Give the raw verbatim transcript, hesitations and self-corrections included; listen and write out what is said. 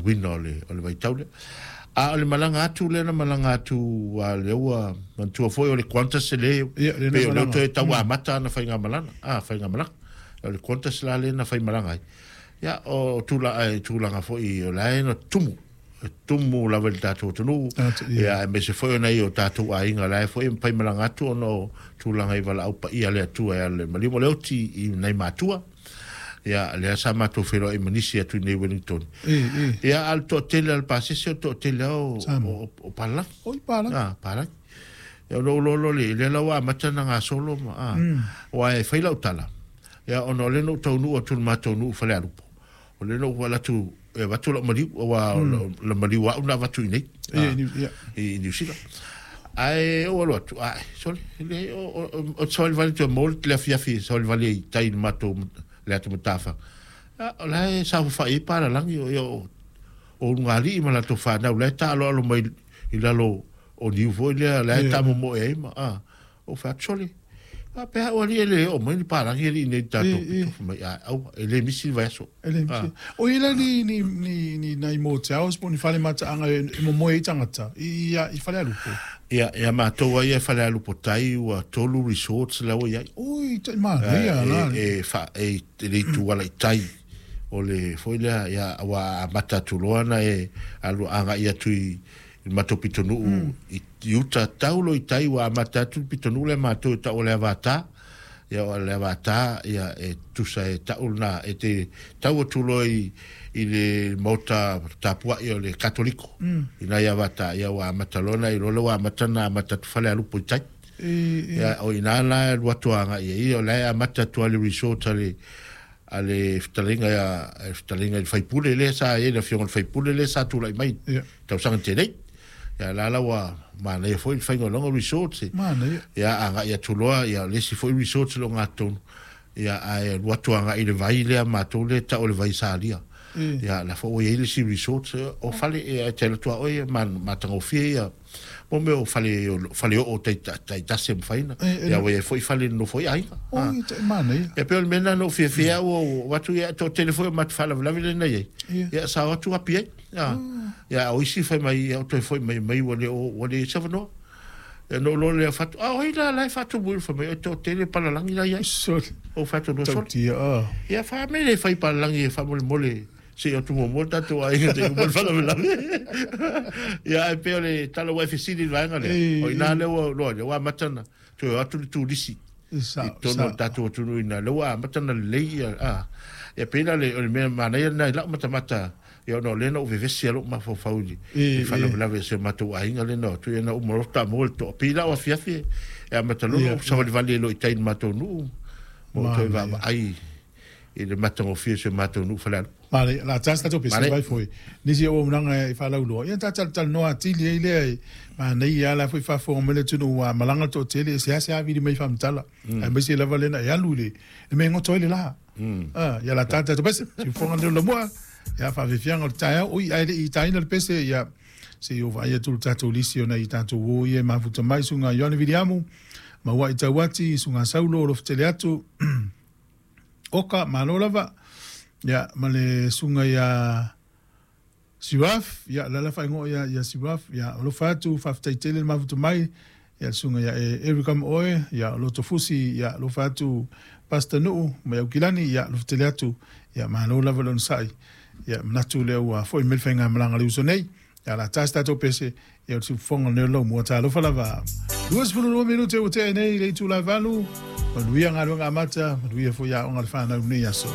aluina o le o le vaitau lea. A o le malaga atu lea na malaga atu a lea ua manatua foi o le Qantas le Ia, lea na pe o lea malaga. toe tau amata ana faigamalaga a faigamalaga o le Qantas la lea na faimalaga ai. Ia o tula ai tulaga foi o la e na tumu e tumu lava i le tatou atunuu. Tatou, ia. Ia aemaise foi o nai o tatou aiga la e foi e faimalaga atu ona o tulaga i valaau paia le Atua e ala i le maliu ma le oti i nai matua. Ia lea sa matou feiloai ma nisi atu i nei Wellington. E, e. Ia a le toatele a le pasese o le toatele lava o, Samoa. o, o palagi. Oi palagi. Ah, palagi. Ia ona ou loa lea, lea la ua amata na gasolo ma, ah, ua e fai lau tala. Ia ona o lea na ou taunuu atu i le matou nuu Falealupo. O lea na ou alu atu e avatu lau maliu, aua o le maliu au na avatu i nei. E, Ah, New- ia. i New Zealand. Ae ou alu atu, ai, sole, le, o, o, o, o savalivali toe maua le afiafi savalivali ai i tai i le matou le atu matafa. Ah, o la e saofafai ai palalagi o, ia, o, o ulugalii ma latou fanau, la e taaloalo mai i lalo o niu foi lea, la e Ia. tamomoe ai ma, ah, ou fai atu, sole, a pe au alii e le oo mai ni palagi alii nei tatou E, e. pito. Fai mai, ah, aua, e le misi le vaiaso. E le misi. O ia la ni, ni, ni, ni nai motels po ni fale mataaga e e momoe ai tagata i, i, i Falealupo. Ia, ia matou ai e Falealupo tai ua tolu resorts la ua iai. Oi, tai manaia la. E, e, fa, e, e le itu ala i tai o le foi lea, ia, ua amata atu loa na e alu agai atu i i le matou pitonuu i, i uta taulo i tai ua amata atu le pitonuu lea matou e tau o le Avatā. Ia o le Avatā, ia e tusa e tau lena e te tau atu loa i, i le maota tapuai o le Katoliko. I nai Avatā, ia ua amata loa na i loa lea ua amata na amata atu Falealupo i tai. E, e. Ia, o ina la e alu atu agai ai, o la e amata atu a le resort a le a le fetalaiga ia le fetalaiga i le faipule lea sa i ai le afioga i le faipule lea sa tulai mai Ia. tausaga tenei. Ia la la ua manaia foi le faiga o loga resort. Manaia. Ia agai atu loa, ia le isi foi resort lo ngatonu. Ia ae alu atu agai i le vai lea matou lea tau o le vai salia. E. Ia la foi ua i ai le isi resort o fale e e te alu atu a oe ma matagofie ia mo mea o fale o fale oo tai tai tasi e mafai na. E, e, Ia ua i ai foi fale nofo ai aiga. Ah. Oi, tai manaia. Ia pe o le mea lena na ou fiafia au o atu ia toatele foi o matou faalavelave lea na i ai. Ia. Ia sa o atu api ai. Ia, ia o isi fai mai ia o toe foi mai mai ua le o ua le savanoa. Ia na ou loa lea fatu, a o ai la la e faatumu i le fai mai, o toatele palalagi la i ai. Sole. O fatu loa sole. Tautia, ah. Ia fa me le fai palalagi e faamolemole se i atu muamua le tatou aiga te uma le faalavelave. Ia ai pe o le tala ua e fesili i le vaega lea. E, O ina lea ua loa lea ua amata na toe o atu le turisi. E, sa, I totonu o le sa. tatou atunuu ina lea ua amata na lelei ia. Ah. Ia pei la le o le mea manaia lena i lau matamata ia ona o lea na ou vevesi ai lou mafaufau i E, le e. faalavelave i si o matou aiga lea na o atu ia na uma loa faatoa maua le toa. Pei la o afiafi e amata loa Ia, ou savalivali ai loa i tai i le matou nuu ma ou toe Manaia. vaavaai i le matagofie o si o matou nuu Falealupo. Manaia, la tasi tatou pese Manaia. vai foi. Nisi o auaunaga e faalauloa. Ia tatalanoa atili ai lea e manaia la foi faafofoga mai le atunuu ua malaga le toatele e seasea vili mai faamatala. Aemaise lava lena e alu i le le mea e goto ai le la. Ah, ia la tata tatou pese. Siufoga leo lamua. Ia faafiafiaga o le taeao. Oi, ae le'i taina le pese ia se i o vaai atu le tatou lisi ona i tatou uo ia e mafuta mai suga Ioane Viliamu. Maua i tauati suga Saulo o lo fetele atu. Oka, malo lava. Ia, ma le suga ia Siwaf, ia, lala whaingoa ia, ia Siwaf, ia, alofa atu, faafetai tele le mafuta mai, ia, le suga ia e Erika ma oe, ia, loto fusi, ia, alofa atu, Pastor Nuu, ma Aukilani, ia, alofa tele atu, ia, malo lava le onosai, ia, manatu lea ua foi mai le faigamalaga le uso nei, ia, la tasi tatou pese, ia, o le siufofoga o lenei lau mua, talofa lava. Lua sefulu lua minute ua tea nei i le itula e valu, manuia galuega amata, manuia foi aoga le fanau lenei aso.